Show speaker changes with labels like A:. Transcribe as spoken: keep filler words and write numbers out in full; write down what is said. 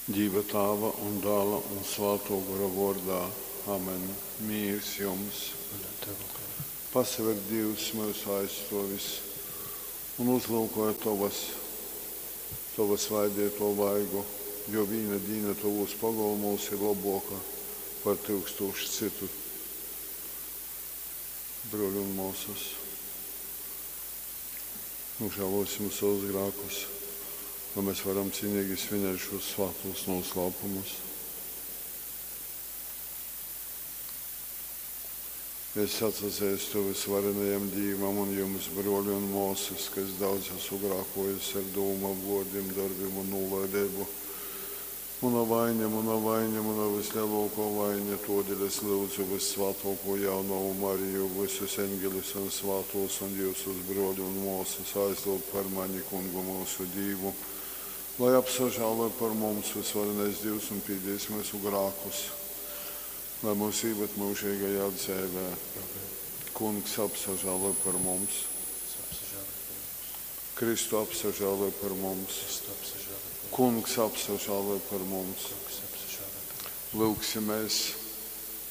A: Dīva Tāva un Dāla un Svātō Gora vōrdā. Amen. Mīrs jums!
B: Un ar tavu goru.
A: Pasaver, Dīvs, myusu aizstōvis un uzlyukoj tovas, tova svaideitō vaigu, jo vīna dīna tovūs pogolmūs ir lobōka par tyukstūšu cytu. Brōļi un mōsas, nožēlosim savus grākus, lai mēs varam cienīgi svinēt šos svātos noslēpumus. Es atsazīstu visvarenajam Dīvam un jums, brōļi un māsas, ka es daudz esmu grēkojis ar dūmām, vōrdim, darbim un nūlaideibu. Muna vaine, muna vaine, muna vislielākā vaine, todēļ es lūdzu Vissvātāko jaunavu Mariju, visus eņģeļus un svātos un jūsus, brōļi un māsas, aizlūgt par mani Kungu mūsu Dīvu, lai apsažāloj par mums visvarenais Dievs un pīdīs mūsu grēkus, lai mūs ieved mūžīgajā dzīvē.
B: Amen.
A: Kungs apsažāloj par mums,
B: Apsažāloj par mums.
A: Kristu apsažāloj par mums,
B: Kristu apsažāloj par mums.
A: Kungs apsažāloj par mums.
B: Kungs apsažāloj par mums.
A: Lūgsimies!